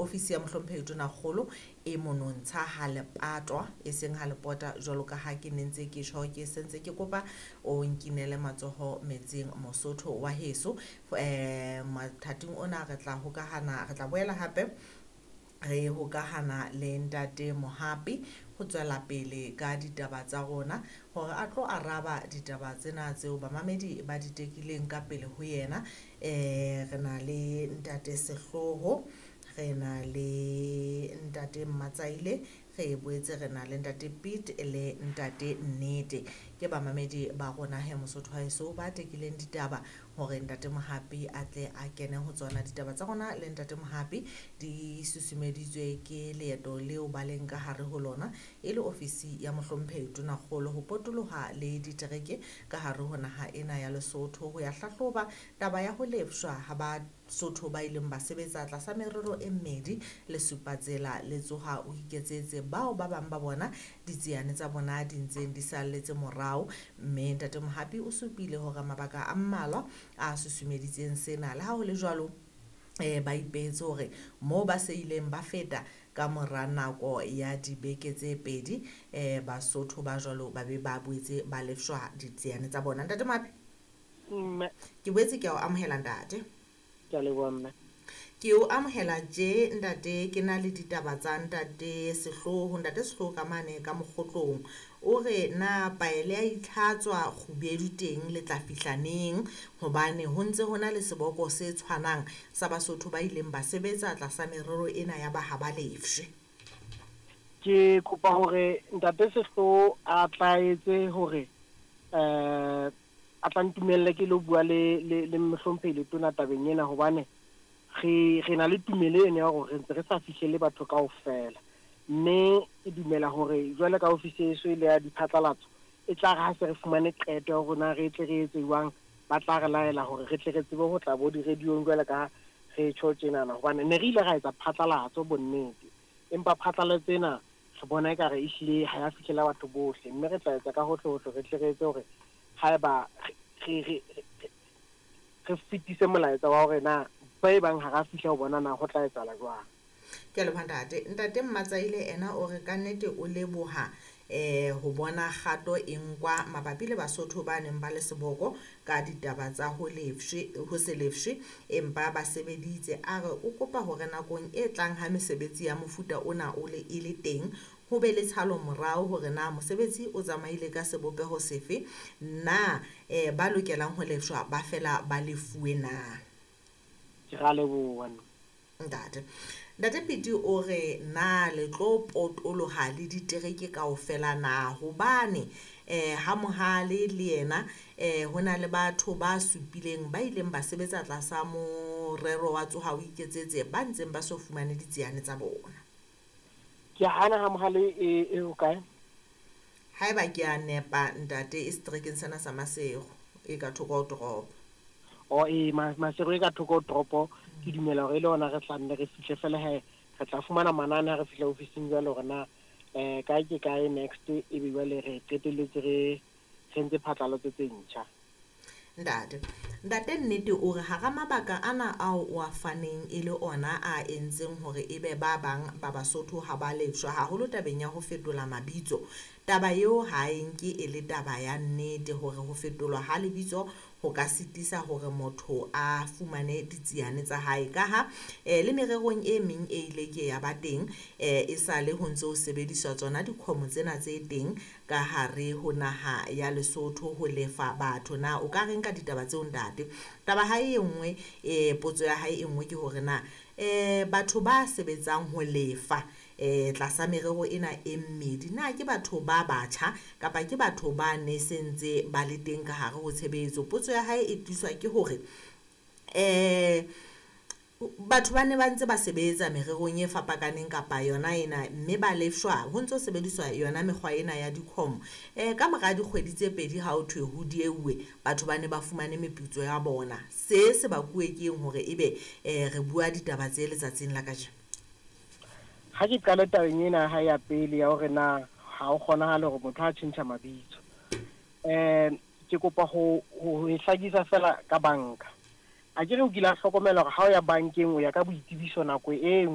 Ofisi ya Mohlomphehi Tonakgolo e monontsha ha lepatwa, e seng ha lepota jwalo ka ha ke ne ntse ke tjho, ke sentse ke kopa o nkinele matsoho metsing Mosotho wa heso. Mathateng ona re tla hokahana, re tla boela hape re hokahana le Ntate Mohapi ho tswela pele ka ditaba tsa rona hore a tlo araba ditaba tsena tseo bamamedi ba di tekileng ka pele ho yena. Re na le Ntate Sehloho, re na le Ntate Mmatsaile, re boetse re na le Ntate Piet le Ntate Nnete. Ke bamamedi ba rona he Mosotho wa heso ba tekileng ditaba hore Ntate Mohapi a tle a kene ho tsona. Ditaba tsa rona le Ntate Mohapi di susumeditswe ke leeto leo ba leng ka hare ho lona e le ofisi ya Mohlomphehi Tonakgolo ho potoloha le ditereke ka hare ho naha ena ya Lesotho ho ya hlahloba taba ya ho lefshwa ha Basotho ba ileng ba sebetsa tlasa merero e mmedi, Lesupatsela le Tsoha o Iketsetse, bao ba bang ba bona ditsiane tsa bona di ntseng di salletse morao. Mme Ntate Mohapi o supile hore mabaka a mmalwa a susumeditseng sena. Le ha ho le jwalo, ba ipehetse hore moo ba se ileng ba feta ka mora nako ya dibeke tse pedi, Basotho ba jwalo ba be ba boetse ba lefshwa ditsiane tsa bona. Ntate Mohapi, Mme. Ke boetse ke a o amohela ntate. Ke a leboha mme. Ke o amohela tje ntate, ke na le ditaba tsa Ntate Sehloho. Ntate Sehloho ka mane ka Mokgotlong o re na paele ya itlhatswa kgubedu teng le tla fihla neng, hobane ho ntse ho na le seboko se tshwanang sa Basotho ba ileng ba sebetsa tlasa merero ena ya ba ha ba lefshwe. Ke kopa hore Ntate Sehloho a tla etse hore a tla ntumelle ke lo bua le le le mohlomphehi Letona tabeng ena, hobane re re na le tumelo eno ya hore re ntse re sa fihlele batho kaofela, mme ke dumela hore jwale ka ofisi eso e le ya diphatlalatso e tla re ha se re fumane qeto ya hore na re tle re etse jwang, ba tla re laela hore re tle re tsebe ho tla bo di-radio-ong jwale ka re tjho tjenana, hobane ne re ile ra etsa phatlalatso bonnete, empa phatlalatso ena re bona ekare ehlile ha ya fihlela batho bohle, mme re tla etsa ka hohle hohle re tle re etse hore haeba re re re fetise molaetsa wa hore na ba e bang ha ra fihla ho bona na ho tla etsahala jwang. Ke a leboha ntate. Ntate Mmatsaile ena o re kannete o leboha ho bona kgato e nkwa mabapi le Basotho ba neng ba le seboko ka ditaba tsa ho lefshwe, ho se lefshwe empa ba sebeditse. A re o kopa hore nakong e tlang ha mesebetsi ya mofuta ona o le e le teng, ho be le tshalo morao hore na mosebetsi o tsamaile ka sebopeho sefe, na ba lokelang ho lefshwa ba fela ba lefuwe na. Ke ra leboha. Ntate. Ntate Piti o re na le tlo potoloha le ditereke kaofela na, hobane ha Mohale le yena ho na le batho ba supileng ba ileng ba sebetsa tlasa morero wa Tsoha o Iketsetse ba ntseng ba so fumane ditsiane tsa bona. Ke hana ha Mohale e hokae? Haeba ke a nepa ntate, e seterekeng sena sa Maseru e ka thoko ho toropo. O e Maseru e ka thoko ho toropo, ke dumela hore e le hona re tla nne re fihle fela he, re tla fumana manane ha re fihla ofising jwale hore na kae ke kae next, ebe jwale re qetelletse re re ntse phatlalatso tse ntjha. Ntate. Ntate Nnete o re hara mabaka ana ao o a faneng e le ona a entseng hore ebe ba bang ba Basotho ha ba lefshwa haholo tabeng ya ho fetola mabitso. Taba eo ha e nke e le taba ya nnete hore ho fetolwa ha lebitso ho ka sitisa hore motho a fumane ditsiane tsa hae, kaha le mererong e meng e ile ke ya ba teng e sale ho ntse ho sebediswa tsona dikhomo tsena tse teng ka hare ho naha ya Lesotho ho lefa batho. Na o ka reng ka ditaba tseo ntate? Taba hae e nngwe, potso ya hae e nngwe ke hore na batho ba sebetsang ho lefa tlasa merero ena e mmedi, na ke batho ba batjha kapa ke batho ba ne sentse ba le teng ka hare ho tshebetso? Potso ya hae e tliswa ke hore batho ba ne ba ntse ba sebetsa mererong e fapakaneng kapa yona ena, mme ba lefshwa ho ntso sebediswa yona mekgwa ena ya dikhomo. Ka mora dikgwedi tse pedi ha ho thwe ho dieuwe, batho ba ne ba fumane meputso ya bona. Se se bakuwe keng hore ebe re bua ditaba tse letsatsing la kajeno? Ha ke qale tabeng ena ha ya pele ya hore na ha o kgonahale hore motho a tjhentjha mabitso, ke kopa ho e hlakisa fela ka banka. A ke re o kile a hlokomela hore ha o ya bankeng o ya ka boitsebiso nako e